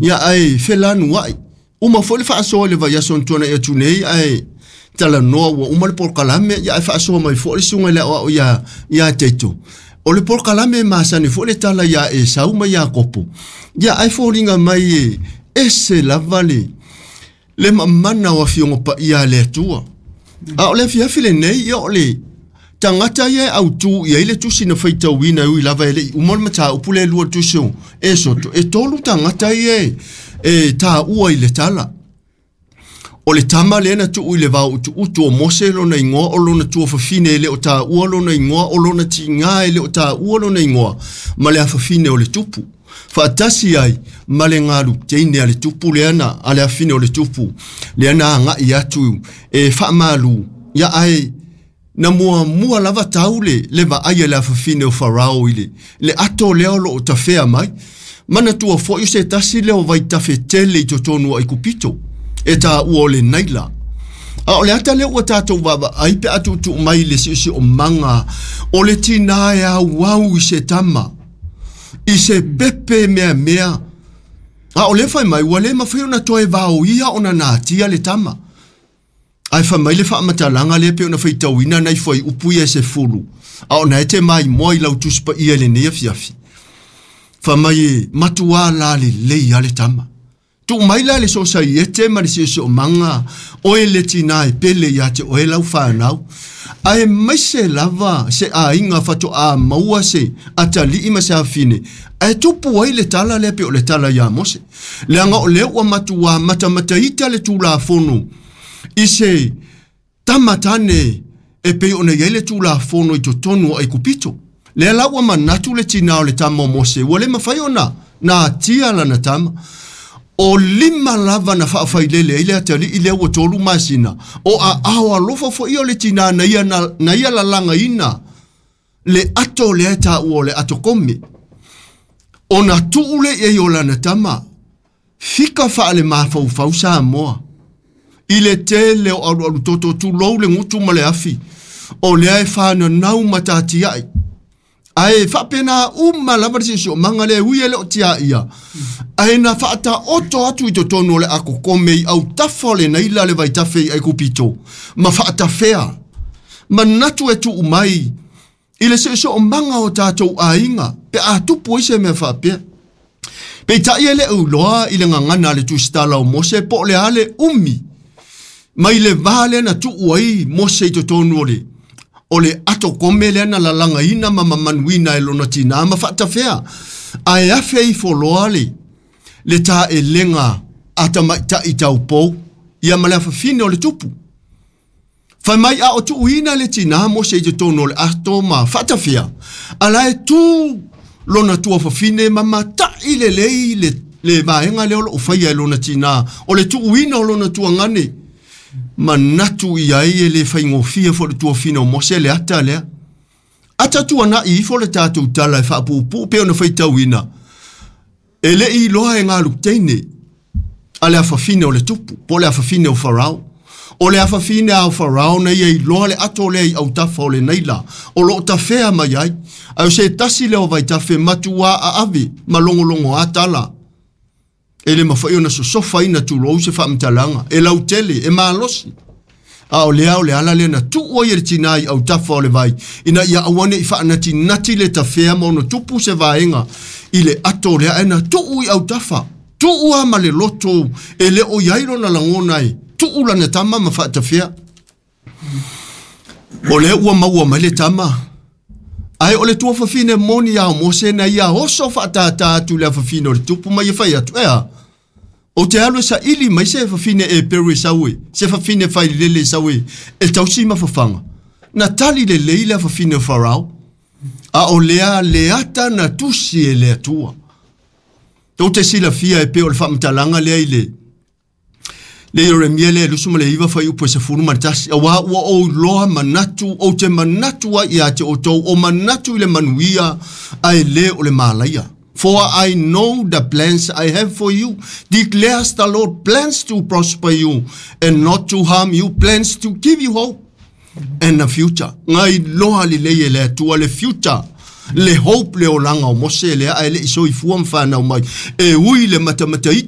Ia ae felanuai. Uma foi le faasoa i le vaiaso na tuanai atu nei ae talanoa ua uma le polokalame, ia ae faasoa mai foi le susuga i le aoao ia ia Teito. O le polokalame e masani foi le tala ia Esau ma Iakopo. Ia ae foliga mai e ese lava le le mamana o afioga paia a le Atua. A o le afiafi lenei, ia o le tagata ia e autu i ai le tusi na faitauina e ui lava e le i uma le mataupu le lua tusi o Esoto, e tolu tagata ia e, e taua i le tala. O le tama lea na tuu i le vao utuutu o Mose lona igoa, o lona tuafafine e le o taua lona igoa, o lona tiga e le o taua lona igoa, ma le afafine o le tupu. Faatasi ai ma le galu teine a le tupu lea na, a le afafine o le tupu, lea na agai atu e faamalu, ia ae na muamua lava tau le, le vaai a le afafine o Farao i le, le ato lea o lo o tafea mai. Manatua foi o se tasi lea o vaitafe tele i totonu o Aikupito, e taua o le Naila. A o le ata lea ua tatou vaavaai pe a tuutuu mai i le siosiomaga o le tinā e auau i se tama, i se pepe meamea. A o lea fai mai ua le mafai ona toe vaoia ona natia le tama. Ae fai mai le faamatalaga lea pei ona faitauina nai fuaiupu ia e 10, a o na e te maimoa i lau Tusi Paia i lenei afiafi. Fai mai e matuā lalelei lava le tama. Tuu mai la le sosaiete ma le siosiomaga oe le tinā e pele ia te oe lau fanau, aemaise lava se aiga faatoa maua se atalii ma se afine, ae tupu ai le tala lea pei o le tala ia Mose. Leaga o lea ua matuā matamataita le Tulafono i se tama tane e pei ona i ai le Tulafono i totonu o Aikupito. Lea la ua manatu le tinā o le tama o Mose, ua le mafai ona natia lana tama. O lima lava na faafailele ai le atalii lea ua 3 masina, o aao alofa foi o le tinā na ia, na, na ia lalagaina le ato lea e taua o le ato kome. Ona tuu lea i ai o lana tama, fika faalemafaufau Samoa i le tele o alualu toto, tulou le gutu ma le afi, o lea e fananau ma tatiai. Ae faapena uma lava le siosiomaga lea e ui e le o tiaia, ae na faataoto atu i totonu o le akokome i autafa o le Naila le vaitafe i Aikupito, ma faatafea. Manatu e tuu mai i le siosiomaga o tatou aiga pe a tupu ai se mea faapea. Peitai e le o iloa i le gagana a le tusitala o Mose po o le a le umi mai le va lea na tuu ai Mose i totonu o le o le ato kome lea na lalagaina ma mamanuina e lona tinā ma faatafea, ae afe ifo loa le le taelega a tamaitai taupou ia ma le afafine o le tupu. Fai mai a o tuuina le tinā Mose i totonu o le ato ma faatafea, a la e tu lona tuafafine ma matai lelei le, le vaega lea o lo o faia e lona tinā, o le tuuina o lona tuagane. Manatu i ai e le faigofie foi le tuafine o Mose le ata lea. Ata tuanai ifo le tatou tala e faapuupuu pei ona faitauina, e le i iloa e galu teine a le afafine o le tupu, po o le afafine o Farao. O le afafine a o Farao na ia iloa le ato lea i autafa o le Naila, o lo o tafea mai ai. Ae o se tasi lea o vaitafe matuā aave ma logologoā tala. E le mafai ona sosofaina tulou se faamatalaga, e lautele, e malosi. A o lea o le ala lea na tuu ai e le tinā i autafa o le vai, ina ia aua ne i faanatinati le tafea ma ono tupu se vaega i le ato lea, ae na tuu i autafa. Tuu lava ma le loto e le o i ai lona lagona e tuu lana tama ma faatafea. O lea ua maua mai le tama, ae o le tuafafine moni a o Mose na ia oso faatātā atu i le afafine o le tupu ma ia fai atu, Ea, ou te alu e saili mai se fafine Eperu e sau e, se fafine failele e sau e, e tausi ma fafaga. Na tali lelei le afafine o Farao, a o lea le ata na tusi e le Atua. Tou te silafia e pei o le faamatalaga lea i le le Ieremia lea e 29 fuaiupu e 11, auā ua ou iloa manatu, ou te manatu ai ia te outou, o manatu i le manuia, ae le o le malaia. For I know the plans I have for you, declares the Lord, plans to prosper you and not to harm you, plans to give you hope and a future. Na iloa lelei e le Atua le future, le hope, le olaga o Mose lea ae le i soifua ma fanau mai, e ui le matamataita.